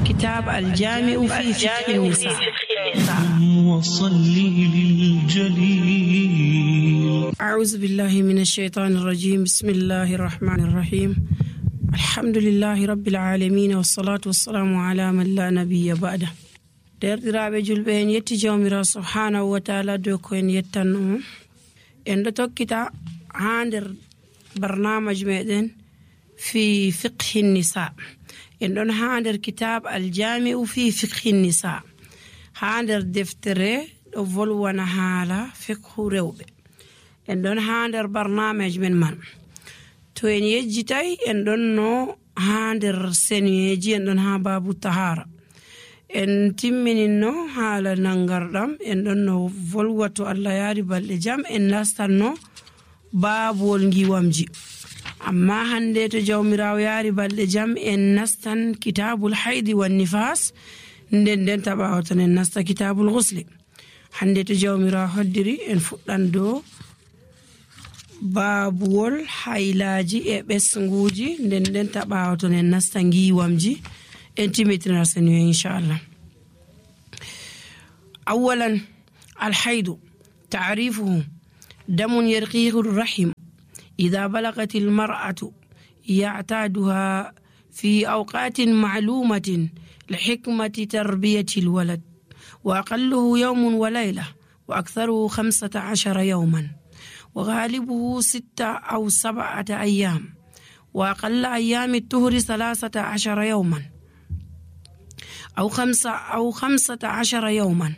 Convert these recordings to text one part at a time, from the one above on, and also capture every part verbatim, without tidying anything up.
كتاب الجامع في فقه النساء وصلي للجليل. أعوذ بالله من الشيطان الرجيم. بسم الله الرحمن الرحيم. الحمد لله رب العالمين والصلاة والسلام على من لا نبي بعده. derdiraaɓe julɓe en yetti jawmira subhanahu wa taala dow ko en yettannomo. En ɗo tokkita haa nder barnamaji meɗen fi fiqhi nisa. En ɗon haa nder kitab aljami'u fi fiqhi nisa, haa nder deftere ɗo volwana haala fiqhu rewɓe. En ɗon haa nder barnamaji men man. To en yejjitay en ɗon no haa nder senuyeji, en ɗon haa babu tahara. En timmininno haala nangarɗam, en ɗon no volwato Allah yaari balɗe jam en nastanno baabol ngiwamji. Amma hande to jawmirawo yaari balɗe jam en nastan kitabul haidi wan nifas, nden nden taɓawo ton en nasta kitabul ghusli. Hande to jawmirawo hoddiri en fuɗɗan dow baabuwol haylaji e ɓesnguji, nden nden taɓawo ton en nasta ngiwamji. En timmitina senu inshallah. أولا الحيض تعريفه دم يرقيه الرحم إذا بلغت المرأة يعتادها في أوقات معلومة لحكمة تربية الولد، وأقله يوم وليلة وأكثره خمسة عشر يوما، وغالبه ستة أو سبعة أيام، وأقل أيام الطهر ثلاثة عشر يوما أو خمسة أو خمسة عشر يوما،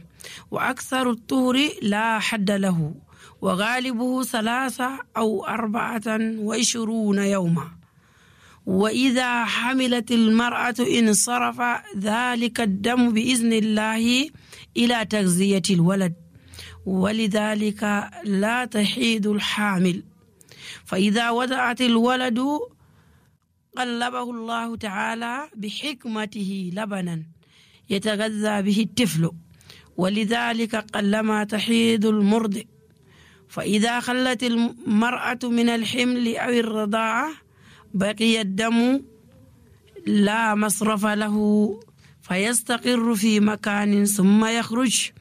وأكثر الطهر لا حد له، وغالبه ثلاثة أو أربعة وعشرون يوما. وإذا حملت المرأة انصرف ذلك الدم بإذن الله إلى تغذية الولد، ولذلك لا تحيض الحامل. فإذا وضعت الولد قلبه الله تعالى بحكمته لبنا يتغذى به الطفل، ولذلك قلما تحيض المرضع. فإذا خلت المرأة من الحمل أو الرضاعة بقي الدم لا مصرف له، فيستقر في مكان ثم يخرج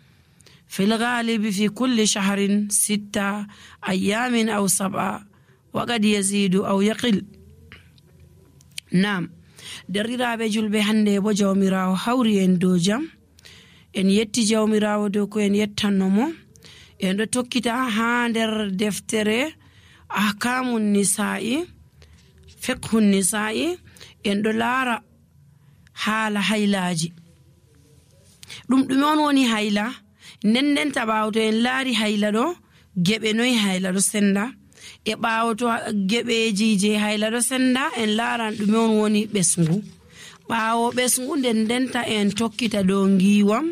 في الغالب في كل شهر ستة أيام أو سبعة، وقد يزيد أو يقل. نعم. derriraaɓe julɓe hande bo jawmirawo hawri en dow jam. En yetti jawmirawo dow ko en yettannomo. En ɗo tokkita haa nder deftere ahkamun nisa'i, fiqhun nisa'i. En ɗo laara haala haylaji. ɗum ɗume on woni hayla? nden nden taɓawo to en laari hayla ɗo, geɓe noyi hayla ɗo senda, e ɓaawo to geɓeji je hayla ɗo senda en laaran ɗume on woni ɓesngu. ɓaawo ɓesngu nden ndenta en tokkita dow ngiwam,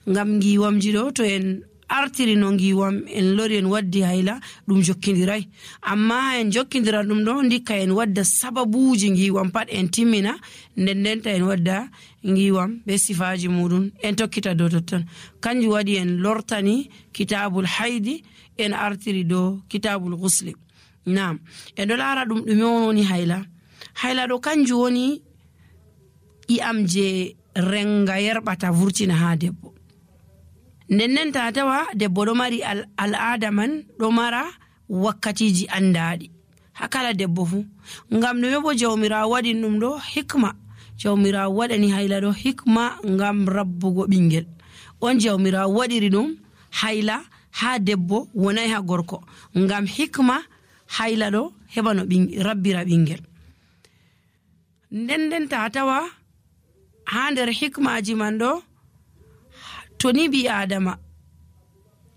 ngam ngiwamji ɗo to en artiri no ngiwam en lori en waddi hayla ɗum jokkindiray. Amma en jokkindira ɗum ɗo ndikka en wadda sababuji ngiwam pat en timmina, nden ndenta en wadda ngiwam be sifaji muɗum en tokkita dow totton. Kanjum waɗi en lortani kitabul haidi en artiri dow kitabul ghusli. Naam. En ɗo laara ɗum ɗume on woni hayla. Hayla ɗo kanjum woni i'am je renga yerɓata vurtina ha debbo. nden nden ta tawa debbo ɗo mari al'ada man ɗo mara wakkatiji andaɗi ha kala debbo fu. Ngam ɗume bo jawmirawo waɗi ɗum ɗo hikma. Jawmirawo waɗani hayla ɗo hikma ngam rabbugo ɓingel. On jawmirawo waɗiri ɗum hayla ha debbo wonai ha gorko, ngam hikma hayla ɗo heɓa no rabbira ɓingel. nden nden ta tawa ha nder hikmaji man ɗo, to ni bi adama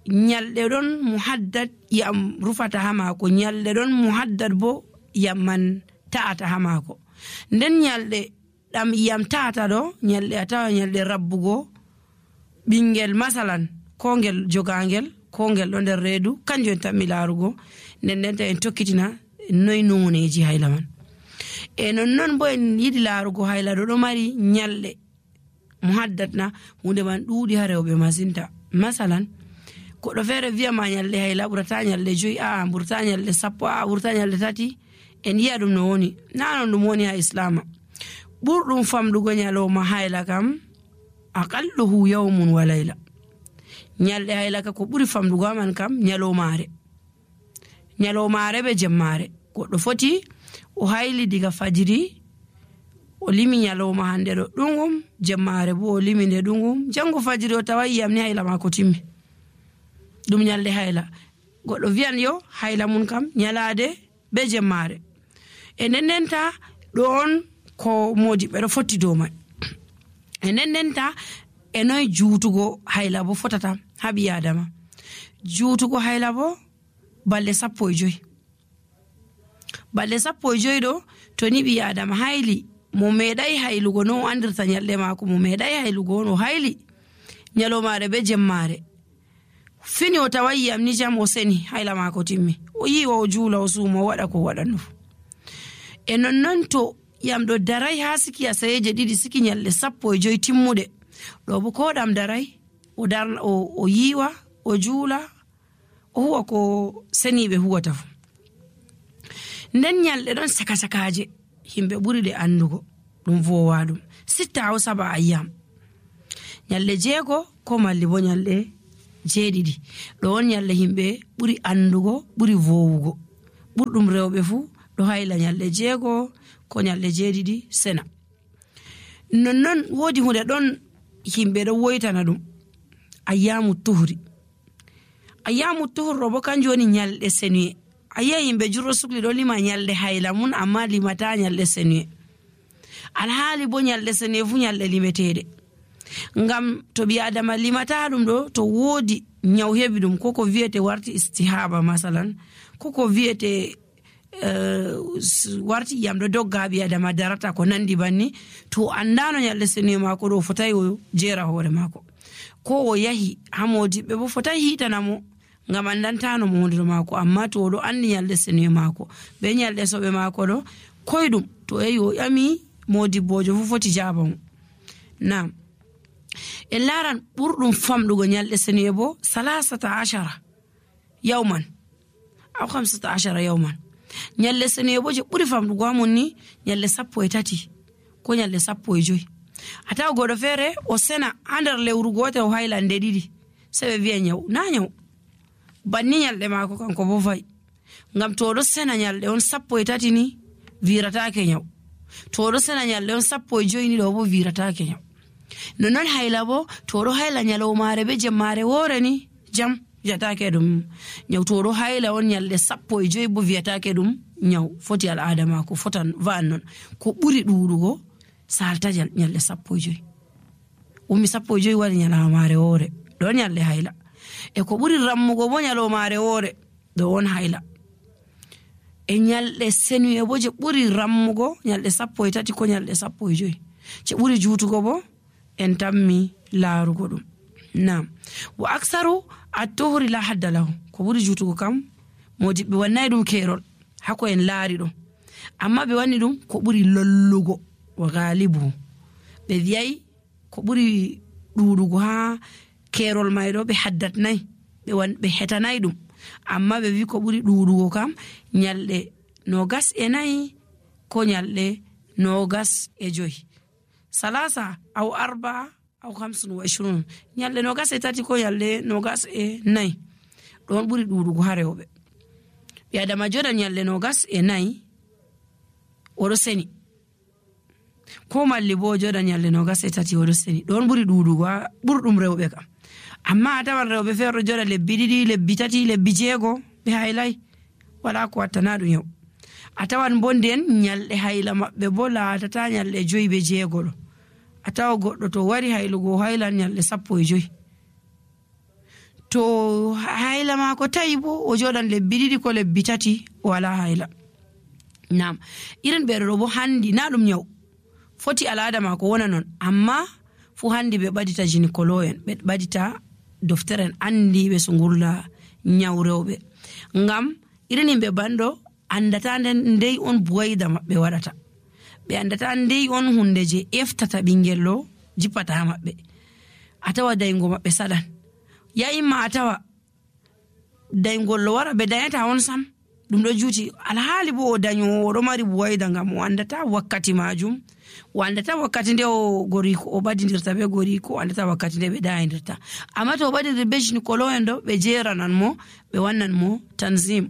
nyalɗe ɗon muhaddad yam rufata ha mako, nyalɗe ɗon muhaddad bo yam man ta'ata ha mako. nden nyalɗe ɗam yam ta'ata ɗo, nyalɗe a tawa nyalɗe rabbugo ɓingel masalan, ko ngel jogangel ko ngel ɗo nder reedu, kanjum en tammi laarugo. nden nden ta en tokkitina noy noneji hayla man. E nonnon bo en yiɗi laarugo hayla ɗo ɗo mari nyalɗe muhaddatna, hunde man ɗuuɗi ha rewɓe masinta. Masalan, koɗo feere wiya ma nyalɗe hayla ɓurata nyalɗe joyi, a ɓurata nyalɗe sappo, a ɓurata nyalɗe tati. En yi'a ɗum no woni, na non ɗum woni ha islama. ɓurɗum famɗugo nyaloma hayla kam aqalluhu yawmun wa layla. Nyalɗe hayla ka ko ɓuri famɗugo aman kam nyalomare nyalomare be jemmare. Goɗɗo foti o hayli diga fajiri o limi nyaloma hande ɗo ɗungum, jemmare bo o limi nde ɗungum, jango fajiri o tawa yiyam ni hayla mako timmi. Ɗum nyalɗe hayla. Goɗɗo wiyan yo hayla mun kam nyalade be jemmare. E nendenta ɗon ko modiɓɓe ɗo fotti dow mai. E nendenta e noy juutugo hayla bo fotata ha ɓi adama. Juutugo hayla bo balɗe sappo e joyi. Balɗe sappo e joyi ɗo to ni ɓi adama hayli mo meɗai haylugo no andirta nyalɗe mako, mo meɗai haylugo no hayli nyalomare be jemmare. Fini o tawa yiyam ni jam o seni hayla mako timmi. O yiwa o juula o suuma o waɗa ko waɗanno. E nonnon to yam ɗo darai ha siki asayeje ɗiɗi siki nyalɗe sappo e joyi timmuɗe. Ɗo bo ko ɗam darai o darna o, o yiwa o juula o huwa ko seniɓe huwata fu. Nden nyalɗe ɗon saka sakaje himɓe ɓuri ɗe andugo ɗum vowa ɗum sitta aw saba ayyam. Nyalɗe jeego ko malli bo nyalɗe jeeɗiɗi ɗo on nyalɗe himɓe ɓuri andugo ɓuri vowugo. Ɓurɗum rewɓe fu ɗo hayla nyalɗe jeego ko nyalɗe jeeɗiɗi sena. Nonnon woodi hunde ɗon himɓe ɗo woytana ɗum ayyamu tuhri. Ayyamu tuhri ɗo bo kanjum woni nyalɗe senuye. Ayiya yimɓe jurɗo sukli ɗo lima nyalɗe hayla mun amma limata nyalɗe senuye. Alhaali bo nyalɗe senuye fu nyalɗe limeteɗe. Ngam to ɓi adama limata ɗum ɗo to woodi nyaw heɓi ɗum koko wiyete warti istihaba masalan koko wiyete Uh, warti yam ɗo dogga ɓi adama darata ko nandi banni to andano nyalɗe senuye mako ɗo fotai o jera hoore mako ko o yahi ha modiɓɓe bo fotai hitanamo ngam andantano mo hunde mako. Amma to oɗo andi nyalɗe senuye mako be nyalɗe soɓe mako ɗo koyɗum to yahi o ƴami modibbojo fu foti jaba mo. Nam en laran ɓurɗum famɗugo nyalɗe senuye bo salasata ashara yawman aw khamsata ashara yawman. Nyalɗe senuye bo je ɓuri famɗugo amon ni nyalɗe sappo e tati ko nyalɗe sappo e joyi. A tawa goɗɗo feere o sena ha nder lewru gotel o hayla nde ɗiɗi se ɓe wiya nyaw na nyaw banni nyalɗe mako kanko bo fayi. Ngam to oɗo sena nyalɗe on sappo e tati ni wiratake nyaw, to oɗo sena nyalɗe on sappo e joyi ni ɗo bo wiratake nyaw. Nonnon hayla bo to oɗo hayla nyalomare be jemmare woore ni jam wiyatake ɗum nyaw. To oɗo hayla on nyalɗe sappo e joyi bo wiyatake ɗum nyaw. Foti al'ada mako fotan va'an non ko ɓuri ɗuɗugo salta nyalɗe sappo e joyi. Umi sappo e joyi waɗi nyalamare woore ɗon nyalɗe hayla. E ko ɓuri rammugo bo nyalomare woore ɗo on hayla. E nyalɗe senuye bo je ɓuri rammugo nyalɗe sappo e tati ko nyalɗe sappo e joyi. Je ɓuri juutugo bo en tammi laarugo ɗum. Nam wa aksaru at-tuhri la hadda lahu. Ko ɓuri juutugo kam modiɓɓe wannay ɗum kerol hako en laari ɗo, amma ɓe wanni ɗum ko ɓuri lollugo wa galibu. Ɓe wiyay ko ɓuri ɗuɗugo ha kerol may ɗo ɓe haddatnay ɓe wan ɓe hetanay ɗum, amma ɓe wi ko ɓuri ɗuɗugo kam nyalɗe nogas e nayi ko nyalɗe nogas e joyi. Salasa aw arba aw khamsun wa ishrun. Nyalɗe nogas e tati ko nyalɗe nogas e nayi ɗon ɓuri ɗuɗugo ha rewɓe. Ɓi adama joɗa nyalɗe nogas e nayi oɗo seni, ko malli bo joɗa nyalɗe nogas e tati oɗo seni ɗon ɓuri ɗuɗugo ha ɓurɗum rewɓe kam. Amma a tawan rewɓe feere joɗa lebbi ɗiɗi lebbi tati lebbi jeego ɓe haylay wala ko wattana ɗum yaw. A tawan bo nden nyalɗe hayla maɓɓe bo laatata nyalɗe joyi be jeego ɗo. A tawa goɗɗo to wari haylugo haylan nyalɗe sappo e joyi. To hayla mako tawi bo o joɗan lebbi ɗiɗi ko lebbi tati wala hayla. Nam irin ɓeɗo ɗo bo handi na ɗum yaw foti al'ada mako wona non, amma fu handi ɓe ɓadita gynécologue en ɓe ɓadita docteur en andi ɓe so ngurla nyaw rewɓe. Ngam irin himɓe banɗo andata nden ndey on buwayda maɓɓe waɗata, ɓe andata ndey on hunde je eftata ɓingel ɗo jippata ha maɓɓe. A tawa daygo maɓɓe saɗan, ya imma a tawa daygol ɗo wara ɓe dayata on sam ɗum ɗo juuti alhaali bo o dañowo o ɗo mari buwayda ngam o andata wakkati majum, o andata wakkati nde o goriko o ɓadidirta be goriko, o andata wakkati nde ɓe ɗayidirta. amma to o ɓadidir be gynécologue en ɗo ɓe jeranan mo, ɓe wannan mo tanzim,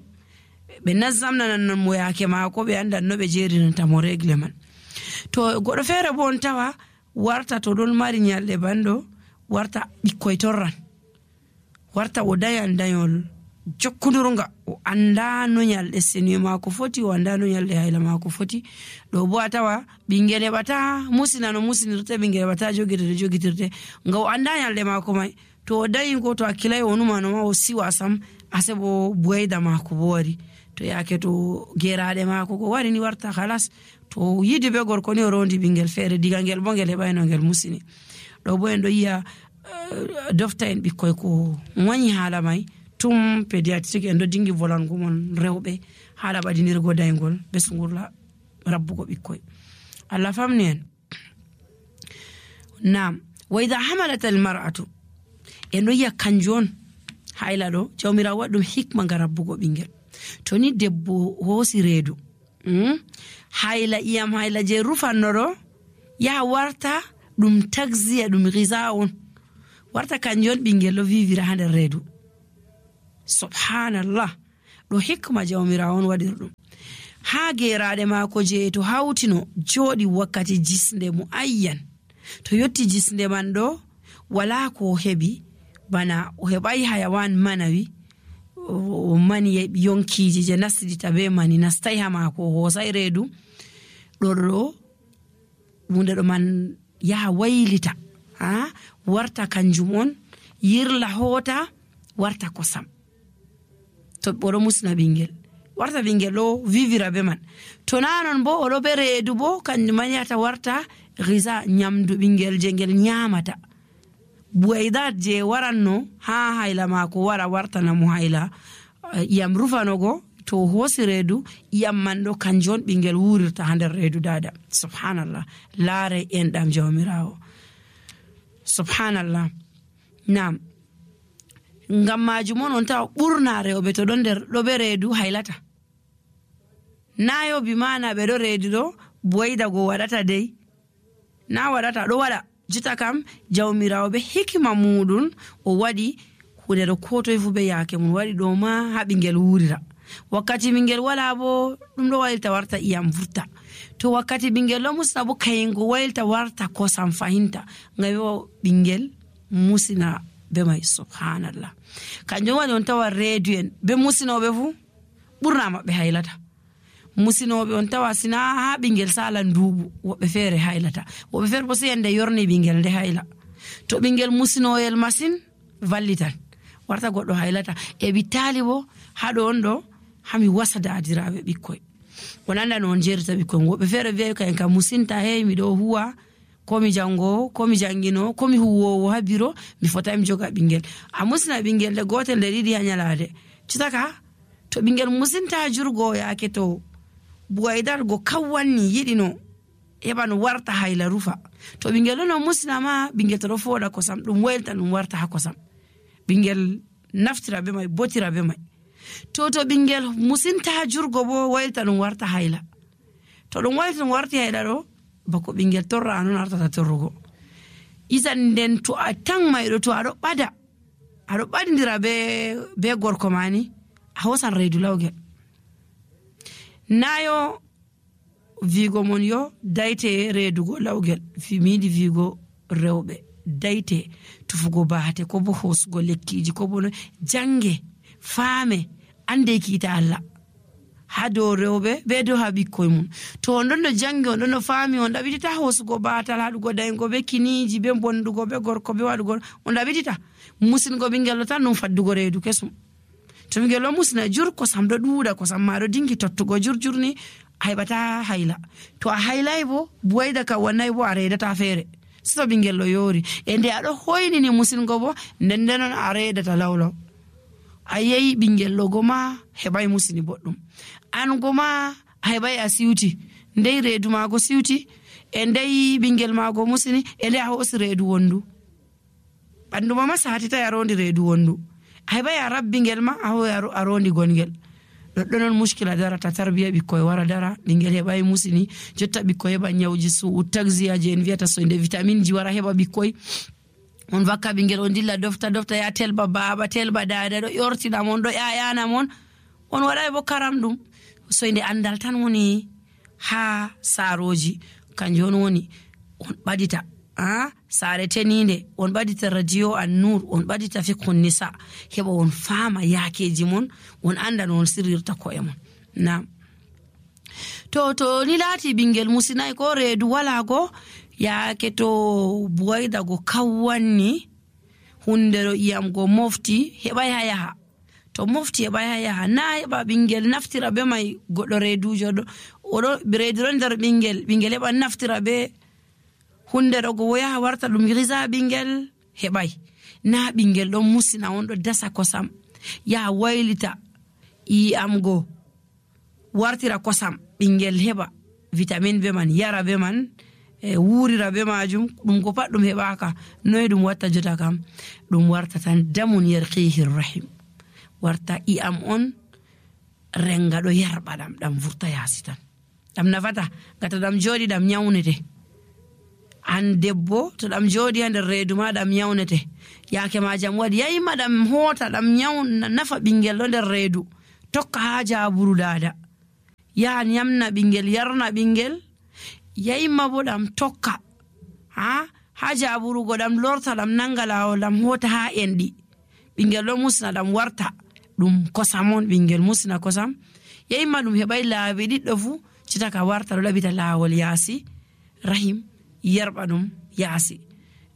ɓe nazzamnanan mo yake maako, ɓe andan no ɓe jerinanta mo regle man. to goɗɗo feere bo on tawa warta to ɗon mari nyalɗe banɗo warta ɓikkoy torran, warta o dayan dayol jokkudurga, o anda no nyalɗe seniyo maako foti, o anda no nyalɗe hayla maako foti. ɗo bo a tawa ɓingel heɓata musina no musinirte, ɓingel heɓata jogitirde jogitirte nga o anda nyalɗe maako mai. to o dayi ko to hakkilay o numano ma o siwa sam ase bo buwayda maako bo wari. to yake to geraɗe maako ko wari ni warta halas, to yidi be gorko ni o rondi ɓingel feere, diga ngel bo ngel heɓayno ngel musini. ɗo bo en ɗo yiya uh, dofta en ɓikkoy ko wañi haala mai tum pédiatrique en ɗo dingi volango mon rewɓe haala ɓadinirgo daygol be sungurla rabbugo ɓikkoy. Allah famni en. Naam, wa idha hamalat al mar'atu, en ɗo yiya kanjum on hayla ɗo jawmirawo waɗi ɗum hikma nga rabbugo ɓingel. to ni debbo hoosi reedu mm? hayla iyam hayla je rufanno ɗo yaha warta ɗum taxiya ɗum gisa on, warta kanjum on ɓingel ɗo vivira ha nder reedu. subhanallah, ɗo hikma jawmirawo on waɗir ɗum. ha geraɗe maako je to hawtino jooɗi wakkati jisnde mo ayyan, to yotti jisnde man ɗo wala ko o heɓi, bana o heɓai hayawan manawi, o mani yonkiji je nasdita be mani nastai ha maako, o hoosai reedu ɗo ɗo hunde ɗo man yaha waylita ha warta kanjum on yirla hoota warta kosam. to oɗo musna ɓingel warta ɓingel ɗo vivira be man. to nanon bo oɗo be reedu bo kanjum man yata warta gisa, nyamdu ɓingel je ngel nyamata. buwaydat je waranno ha hayla maako wara wartana mo hayla iyam rufanogo, to hoosi reedu iyam man ɗo kanjum on ɓingel wurirta ha nder reedu dada. subhanallah, laare en ɗam jawmirawo. subhanallah. nam ngam majum on on tawa ɓurna rewɓe to ɗon nder ɗo be reedu haylata. nayo bi mana ɓe ɗo reedu ɗo buwayda go waɗata dey, na waɗata, ɗo waɗa jita kam jawmirawo be hikima muɗum o waɗi hunde ɗo ko toye fu be yake mum waɗi ɗo ma ha ɓingel wurira. wakkati ɓingel wala bo ɗum ɗo waylta warta iyam vurta, to wakkati ɓingel ɗo musna bo kayingo waylta warta kosam fahinta, ngam yo ɓingel musina be mai. subhanallah, kanjum waɗi on tawa reedu en be musinoɓe fu ɓurna maɓɓe haylata. musinoɓe on tawa sina ha ɓingel sala nduuɓu woɓɓe feere haylata, woɓɓe feere bo sey ende yorni ɓingel nde hayla. to ɓingel musinoyel masin vallitan warta goɗɗo haylata. e ɓittali bo haɗo on ɗo hami wasa dadiraɓe ɓikkoy, on anda no on jerita ɓikkoy. woɓɓe feere wiya kayen ka musinta, hey miɗo huwa komi jangowo komi jangino komi huwowo ha biro mi fota mi joga ɓingel. a musina ɓingel de gotel nde ɗiɗi ha nyalade citaka. to ɓingel musinta jurgo yake to buwaydar go kawwanni yiɗi no heɓa no warta hayla rufa. to ɓingel ɗo no musina ma ɓingel to ɗo fooɗa kosam ɗum waylta ɗum warta ha kosam, ɓingel naftira be mai botira be mai. to to ɓingel musinta jurgo bo waylta ɗum warta hayla. to ɗum waylta ɗum warti hayla ɗo bako ɓingel torra anon artata torrugo. isan nden to a tan mayɗo to aɗo ɓada aɗo ɓadidira be be gorko mani a hosan reedu lawgel. nayo vigo mon yo dayte reedugo lawgel, miyiɗi vigo rewɓe dayte tufugo baate ko bo hosugo lekkiji ko bo no jange faame ande kiita Allah ha dow rewɓe be dow ha ɓikkoy mum. to on ɗon no jangi on ɗon no faami on ɗaɓitita hosugo baatal haɗugo daygo be kiniji be bondugo be gorko be waɗugo on ɗaɓitita. musingo ɓingel ɗo tan ɗum faddugo reedu kesum. to ɓingel ɗo musina jur kosam ɗo ɗuuɗa, kosam ma ɗo dingi tottugo jurjurni a heɓata hayla. to a haylay bo buwayda ka wannay bo a reedata feere so ɓingel ɗo yoori. e nde aɗo hoynini musingo bo nden ndenon a reedata lawlaw. a yehi ɓingel ɗo goma heɓay musini boɗɗum, an goma a heɓay a siwti, ndey reedu maago siwti, e ndey ɓingel maago musini, e nde a hoosi reedu wondu. ɓanduma ma satita a rondi reedu wondu, a heɓay a rabbi ngel ma a hoy a rondi gongel. ɗoɗɗo non muskila darata tarbiya ɓikkoye wara dara ɓingel heɓai musini jotta ɓikkoye heɓa nyawji su taxia je en wiyata so inde vitamine ji wara heɓa ɓikkoye on vakka ɓingel on dilla dofta dofta ya telba baba telba dada ɗo yortina mon ɗo ƴaƴana mon on waɗai bo karam ɗum so inde andal tan woni ha saroji kanjum on woni on ɓadita ah sare teninde on ɓadita radio an nur on ɓadita fiqhun nisa heɓa on fama yakeji mon on anda no on sirrirta ko'e mon na to to ni laati ɓingel musinai ko reedu wala go yaake to buwayda go kawwanni hunde ɗo iyam go mofti heɓai ha yaha to mofti heɓai ha yaha na heɓa ɓingel naftira be mai goɗɗo reedujo ɗo oɗo reedu ɗon nder ɓingel ɓingel heɓa naftira be hunde ɗo go yaha warta ɗum risa ɓingel heɓai na ɓingel ɗon musina on ɗo dasa kosam yaha waylita iyam go wartira kosam ɓingel heɓa vitamine be man yara be man e wurira be majum ɗum ko pat ɗum heɓaka noy ɗum watta jota kam ɗum warta tan damun yarqihi rahim warta iyam on renga ɗo yarɓa ɗam ɗam vurta yasi tan ɗam nafata gata ɗam joɗi ɗam nyawnete an debbo to ɗam joɗi ha nder reedu ma ɗam nyawnete yake ma jam waɗi yayima ɗam hota ɗam nyawna nafa ɓingel ɗo nder reedu tokka ha jaburu dada yaha nyamna ɓingel yarna ɓingel yayima bo ɗam tokka ha ha jaburugo ɗam lorta ɗam nanga lawol ɗam hota ha enɗi ɓingel ɗo musina ɗam warta ɗum kosam on ɓingel musina kosam yayima ɗum heɓai laabi ɗiɗɗo fu citaka warta ɗo ɗaɓita lawol yaasi rahim yarɓa ɗum yaasi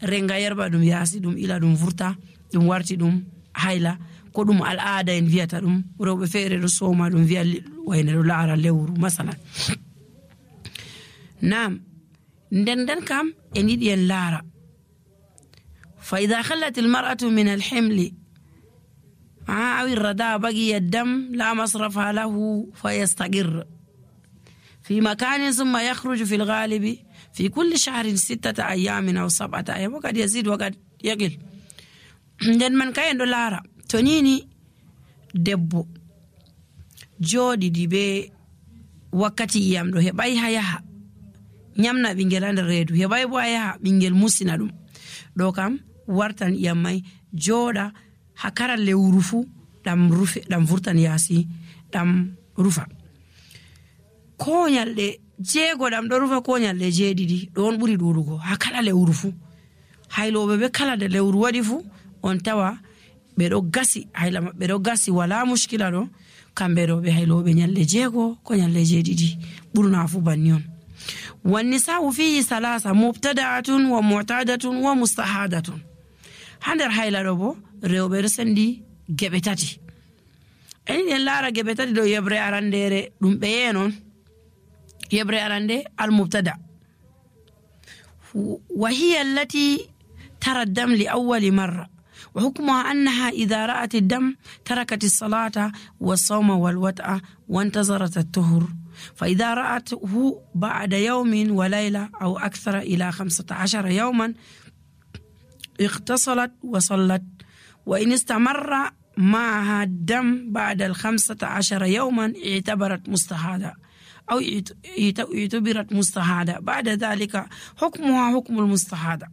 renga yarɓa ɗum yaasi ɗum ila ɗum vurta ɗum warti ɗum hayla ko ɗum al'ada en wiyata ɗum rewɓe feere ɗo soma ɗum wiya wayne ɗo laara lewru masalan nam nden nden kam en yiɗi en laara fa ida khallat almar'atu min alhimli aw irrada bagiya dam la masrafa lahu fayastaqir في مكان ثم يخرج في الغالب في كل شهر ستة أيام أو سبعة أيام وقد يزيد وقد يقل nden man kayen ɗo laara to nini debbo jooɗiɗi be wakkati iyam ɗo heɓai ha yaha nyamna ɓingel ha nder reedu heɓai bo ha yaha ɓingel musina ɗum ɗo kam wartan iyam mai jooɗa ha kala lewru fu ɗam rufe ɗam vurtan yaasi ɗam rufa ko nyalɗe jeego ɗam ɗo rufa ko nyalɗe jeeɗiɗi ɗo on ɓuri ɗuɗugo ha kala lewru fu hayloɓe be kala de lewru waɗi fu on tawa ɓe ɗo gasi hayla maɓɓe ɗo gasi wala muskila ɗo kamɓe ɗo ɓe hayloɓe nyalɗe jeego ko nyalɗe jeeɗiɗi ɓurna fu banni on wannisa'u fihi salasa mubtada'atun wa mu'tadatun wa mustahadatun ha nder hayla ɗo bo rewɓe ɗo sendi geɓe tati eni en laara geɓe tati ɗo yebre arandere ɗum ɓeye non yebre arande al-mubtada وهي التي ترى الدم لأول مرة وحكمها أنها إذا رأت الدم تركت الصلاة والصوم والوطأ وانتظرت الطهر فإذا رأته بعد يوم وليلة أو أكثر إلى خمسة عشر يوما اغتسلت وصلت وإن استمر معها الدم بعد الخمسة عشر يوما اعتبرت مستحاضة أو اعتبرت مستحاضة بعد ذلك حكمها حكم المستحاضة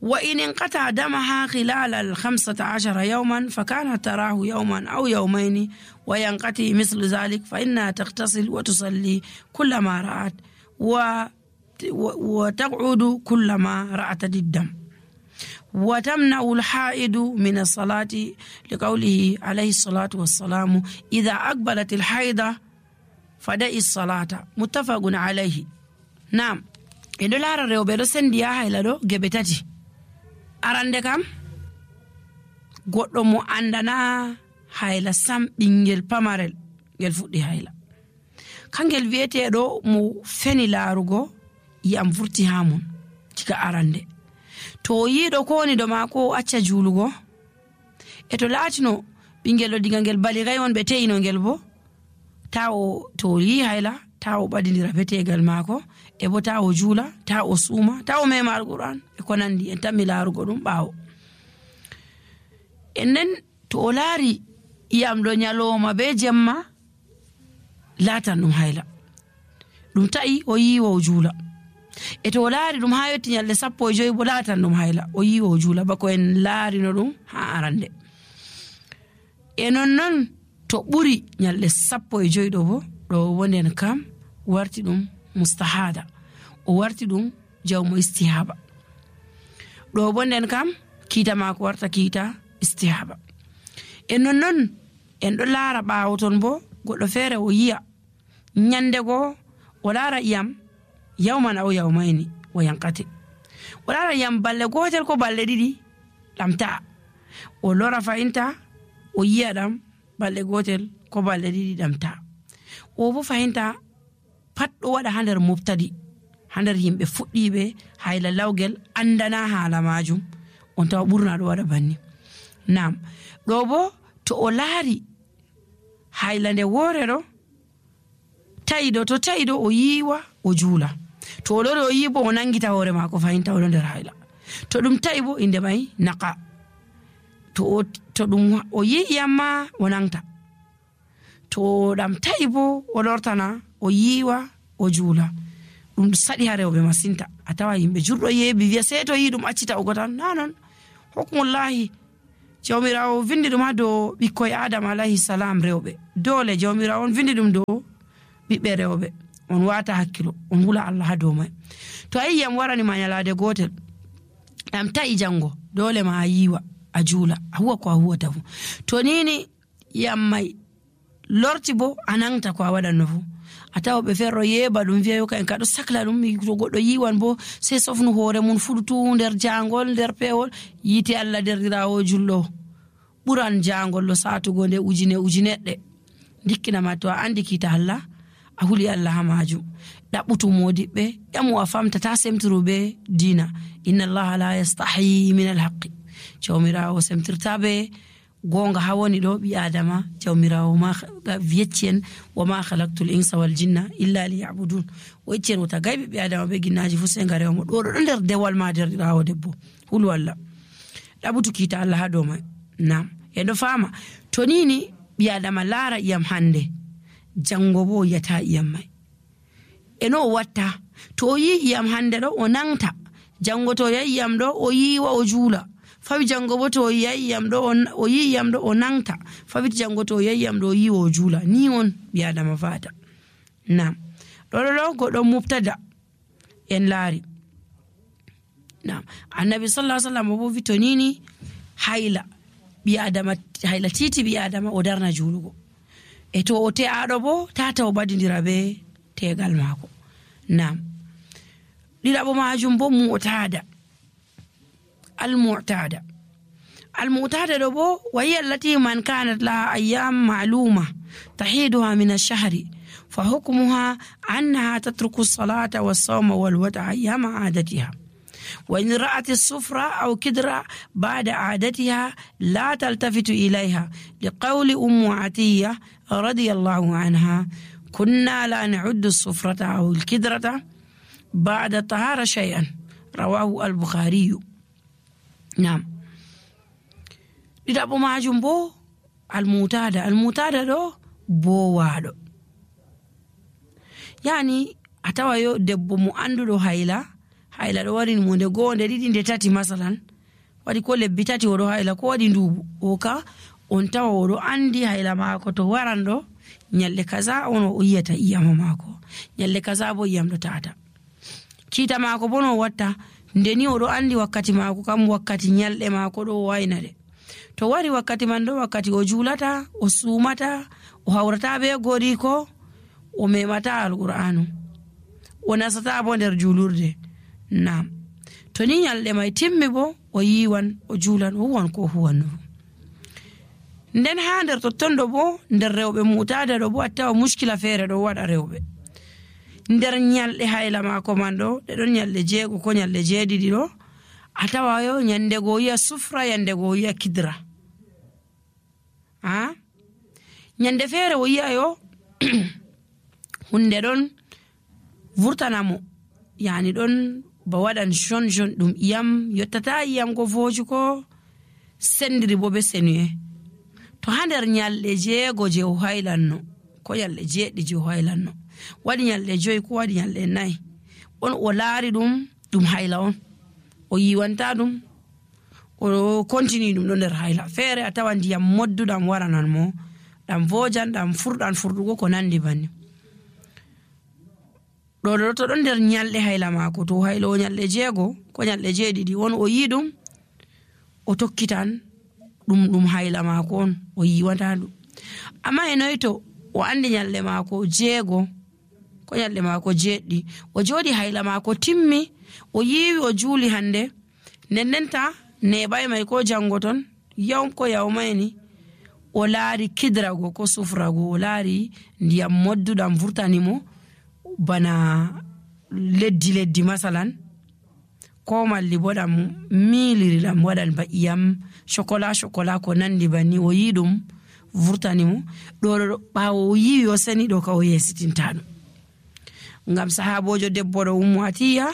وإن انقطع دمها خلال الخمسة عشر يوما فكانت تراه يوما أو يومين وينقطع مثل ذلك فإنها تغتسل وتصلي كلما رأت وتقعد كلما رأت الدم وتمنع الحائض من الصلاة لقوله عليه الصلاة والسلام إذا أقبلت الحيضة فدعي الصلاة متفق عليه. نعم إذا لا رأوا برسن ديا هيلادو جبتاتي arande kam goɗɗo mo andana hayla sam ɓingel pamarel ngel fuɗɗi hayla kangel wiyeteɗo mo feni laarugo yiyam vurti ha mun diga arande to yiɗo ko woni do maako acca juulugo e to laatino ɓingel ɗo diga ngel baligai on ɓe te'ino ngel bo tawo to yi hayla tawo ɓadindira betegal maako e bo tawo juula tawo suuma tawo mema alquran e ko nandi en tammi laarugo ɗum ɓaawo en nden to o laari iyam ɗo nyaloma be jemma latan ɗum hayla ɗum ta'i o yiwa o juula e to o laari ɗum ha yetti nyalde sappo e joyi bo latan ɗum hayla o yiwa o juula bako en laarino ɗum ha arande e non non to ɓuri nyalde sappo e joyi ɗo bo ɗo wonden kam warti ɗum mustahada o warti ɗum jawmo istihaba ɗo bonden kam kiita mako warta kiita istihaba e non non en ɗo laara ɓaawo ton bo goɗɗo feere o yiya nyande go o laara iyam yawman aw yawmayni o yankate o laara iyam balle gotel ko balle ɗiɗi ɗamta o lora fahinta o yiya ɗam balle gotel ko balle ɗiɗi ɗamta o bo fahinta pat ɗo waɗa ha nder mubtadi ha nder yimɓe fuɗɗiɓe hayla lawgel andana haala majum on tawa ɓurna ɗo waɗa banni nam ɗo bo to o laari hayla nde woore ɗo tayiɗo to tayiɗo o yiwa o juula to o lori o yi bo o nangita hoore maako fahinta oɗo nder hayla to ɗum tawi bo inde may naqa to to ɗum o yi iyamma o nangta to ɗam tawi bo o lortana o yiwa o juula ɗum saɗi ha rewɓe masinta a tawa yimɓe jurɗo yeebi wiya sey to yi ɗum accita o gotan nanon hukmullahi jawmirawo vindi ɗum ha dow ɓikkoye adama alayhi salam rewɓe dole jawmirawo on vindi ɗum dow ɓiɓɓe rewɓe on wata hakkilo on hula Allah ha dow may to a yiyam waranima nyalade gotel ɗam ta'i jango dole ma a yiwa a juula a huwa ko a huwata fu to nini yam may lorti bo a nangta ko a waɗanno fu a tawa ɓe ferro yeeba ɗum wiya yo ka en kaɗo sakla ɗum to goɗɗo yiwan bo sey sofnu hoore mum fuɗutu nder jangol nder pewol yite Allah derdirawo julɗo ɓuran jangol ɗo satugo nde ujine ujineɗɗe dikkinama to a andi kita Allah a huli Allah ha majum ɗaɓɓutu modiɓɓe ƴamu a famta ta semtiru be dina inna Allah la yastahi min alhaqi jawmirawo semtirta be gonga ha woni ɗo ɓi adama jawmirawo ma wiyeccen wa ma khalaqtul insa wal jinna illa liya'budun o yeccen wota gayɓe ɓi adama be ginnaji fu se ngarewmo ɗo ɗo nder dewal ma derɗirawo debbo hulu Allah ɗaɓutu kiita Allah ha dow may nam eɗo fama to nini ɓi adama laara iyam hande jango bo yata iyam may eno o watta to o yi iyam hande ɗo o nangta jango to yayi iyam ɗo o yiwa o juula fawi jango bo to yayi iyam ɗo o yi iyam ɗo o nangta fawit jango to yayi iyam ɗo o yiwa o juula ni on ɓi adama fata nam ɗo ɗo ɗo goɗɗo mubtada en laari nam annabi sallallahu alaihi wasallam bo wi to nini hayla ɓi adama hayla titi ɓi adama o darna juulugo e to o te'aɗo bo tata o badidira be tegal maako nam ɗiɗaɓo majum bo mu'tada المعتادة المعتادة بو وهي التي من كانت لها أيام معلومة تحيدها من الشهر فحكمها أنها تترك الصلاة والصوم والوضع أيام عادتها وإن رأت الصفرة أو كدرة بعد عادتها لا تلتفت إليها لقول أم عتية رضي الله عنها كنا لا نعد الصفرة أو الكدرة بعد الطهارة شيئا رواه البخاري nam ɗiɗaɓo majum bo almutada almutada ɗo bowaɗo yani a tawa yo debbo mo anduɗo hayla hayla ɗo waɗi mo nde goho nde ɗiɗi nde tati masalan waɗi ko lebbi tati oɗo hayla ko waɗi ndubu o ka on tawa oɗo andi hayla mako to waran ɗo nyalde kaza on o yiyata iyama mako nyalde kaza bo iyam ɗo tata kiita mako bo no watta ndeni oɗo andi wakkati mako kam wakkati nyalɗe mako ɗo wayna de to wari wakkati man ɗo wakkati o juulata o sumata o hawrata be gori ko o memata alqur'anu o nasata bo nder julurde nam to ni nyalɗe may timmi bo o yiwan o juulan o huwan ko huwanno nden ha nder totton ɗo bo nder rewɓe mutada ɗo bo a tawa muskila feere ɗo waɗa rewɓe nder nyalɗe hayla mako man ɗo ɗe ɗon nyalɗe jeego ko nyalɗe jeeɗiɗi ɗo a tawa yo nyande go yiya sufra yande go yiya kidra ha nyande feere o yiya yo hunde ɗon vurtanamo yani ɗon ba waɗan jon jon ɗum iyam yottata iyam ko fooji ko sendiri bo be senuye to ha nder nyalɗe jeego je o haylanno ko nyalɗe jeeɗi je o haylanno waɗi nyalɗe joyi ko waɗi nyalɗe nayi on o laari ɗum ɗum hayla on o yiwanta ɗum o continue ɗum ɗo nder hayla. Feere a tawa ndiyam modduɗam waranan mo ɗam vojan ɗam furɗan furɗugo ko nandi banni ɗo ɗo to ɗon nder nyalɗe hayla maako to haylo nyalɗe jeego ko nyalɗe jeeɗiɗi on o yi ɗum o tokkitan ɗum ɗum hayla maako on o yiwanta ɗum. Amma e noy to o andi nyalɗe maako jeego ko nyalɗe maako jeeɗɗi o jooɗi hayla maako timmi o yiwi o juuli hande nendenta neɓay may ko jango ton yaw ko yawmayni o laari kidrago ko sufrago o laari ndiyam modduɗam vurtanimo bana leddi leddi masalan ko malli bo ɗam miliri ɗam waɗan ba iyam chocolat chocolat ko nandi banni o yi ɗum vurtanimo ɗo ɓawo o yiwi o seni ɗo ka o yesitinta ɗum ngam sahabojo debbo ɗo Ummu Atiya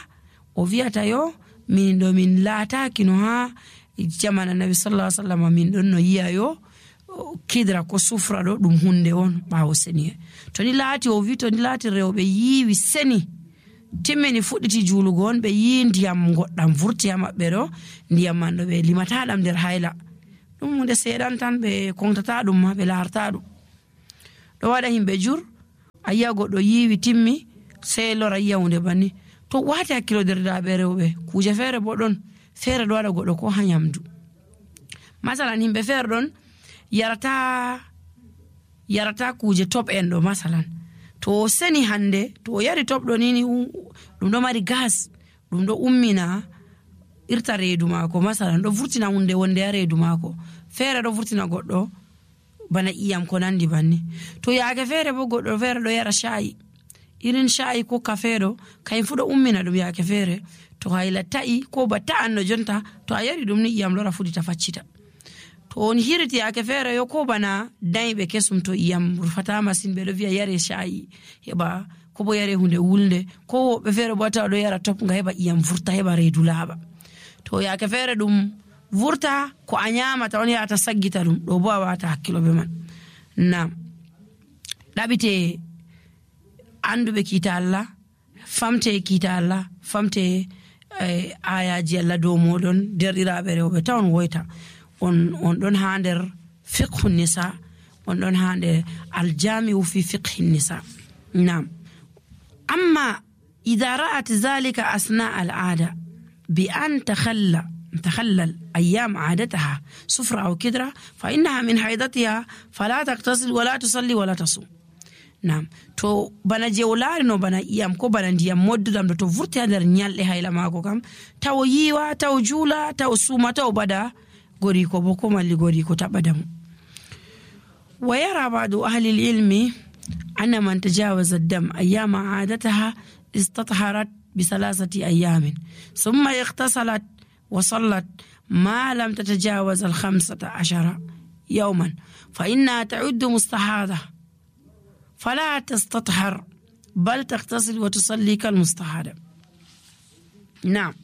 o wiyata yo min ɗo min laataki no ha jamana nabi sallallahu alaihi wasallam min ɗon no yiya yo kidra ko sufra ɗo ɗum hunde on ɓawo seni to ni laati o wi to ni laati rewɓe yiwi seni timmini fuɗɗiti juulugo on ɓe yi ndiyam goɗɗam vurti ha maɓɓe ɗo ndiyam man ɗo ɓe limata ɗam nder hayla ɗum hunde seeɗan tan ɓe kontata ɗum ma ɓe laarta ɗum ɗo waɗa himɓe jur a yiya goɗɗo yiwi timmi sey lora yiya hunde banni to wati hakkilo derɗiraɓe rewɓe kuje feere bo ɗon feere ɗo waɗa goɗɗo ko ha nyamdu masalan himɓe feere ɗon yarata yarata kuje top en ɗo masalan to o seni hande to o yari top ɗo nini ɗum ɗo mari gas ɗum ɗo ummina irta reedu maako masalan ɗo vurtina hunde wonde ha reedu maako feere ɗo vurtina goɗɗo bana iyam ko nandi banni to yaake feere bo goɗɗo feere ɗo yara shayi irin shayi ko kafe ɗo kayen fu ɗo ummina ɗum yaake feere to hayla ta'i ko ba ta'anno jonta to a yari ɗum ni iyam lora fuɗita faccita to on hiriti yaake feere yo ko bana dayɓe kesum to iyam rufata masin ɓe ɗo wiya yare shayi heɓa ko bo yare hunde wulnde ko woɓɓe feere bo tawa ɗo yara top nga heɓa iyam vurta heɓa reedu laaɓa to yaake feere ɗum vurta ko a nyamata on yata saggita ɗum ɗo bo a wata hakkilo be man nam ɗaɓite anduɓe kiita Allah famte kiita Allah famte eh, ayaji Allah dow moɗon derɗiraɓe rewɓe tawon woyta on on ɗon ha nder fiqhu nisa on ɗon ha nder aljami'u fi fiqhi nisa nam amma idha ra'at zalika asna al'ada bi an takhalla تخلل أيام عادتها سفرة أو كدرة فإنها من حيضتها فلا تغتسل ولا تصلي ولا تصوم نعم تو بنا جولار نو بنا إيام كو بنا ديام مود دام تو فرتي هذا النيال لها إلى ما كم تو يوا تو جولا تو سوما تو بدا غوريكو بوكو مالي غوريكو تبدم. ويرى بعض أهل العلم أن من تجاوز الدم أيام عادتها استطهرت بثلاثة أيام ثم اغتسلت وصلت ما لم تتجاوز الخمسة عشر يوما فإنها تعد مستحاضة فلا تستطهر بل تغتسل وتصلي كالمستحاضة. نعم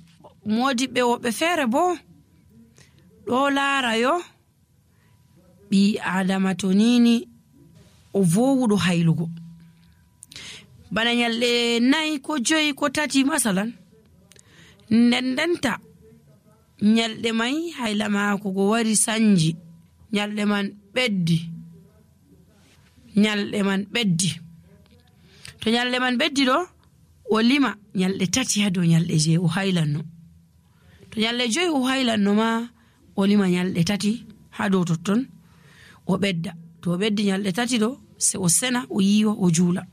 مودي بيو بفير بو دولا رايو بي عدمتونيني وفوضو هايلوغو بنا نيالي ناي كو جوي كو تاتي مثلا نندنتا nyalde may hayla maako go wari sanji nyalde man beddi nyalde man beddi to nyalde man beddi do o lima nyalde tati ha do nyalde je o haylanno to nyalde joy o haylanno ma o lima nyalde tati ha do totton o bedda to o beddi nyalde tati do se o sena o yiwa o juula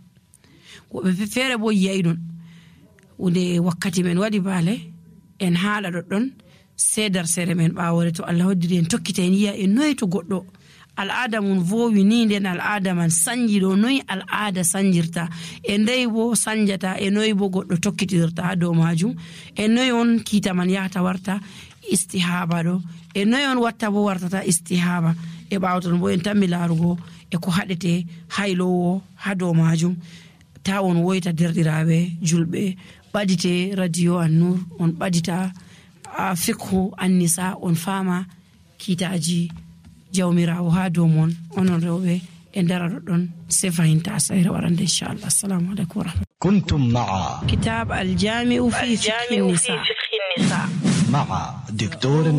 ko be fere bo yaydon unde wakkati men wadi bale en haala doddon sedar sere men baawore to Allah hoddiri en tokkite en yiya en noy to goddo al'ada mun vowi ni den al'ada man sanji do noy al'ada sanjirta e ndey bo sanjata e noy bo goddo tokkitirta ha do majum e noy on kita man yahta warta istihaba do e noy on watta bo wartata istihaba e baawton bo en tammi larugo e ko hadete haylowo ha do majum ta on woyta derdiraabe julbe badite radio An-Nur on badita fiqhu an-nisa on fama kitaji jawmirawo ha dow mon onon rewɓe e ndara ɗon se fahinta sayre warande inchallah. assalamu aleykum warahmatullahi. كنتم مع كتاب الجامع في فقه النساء مع دكتور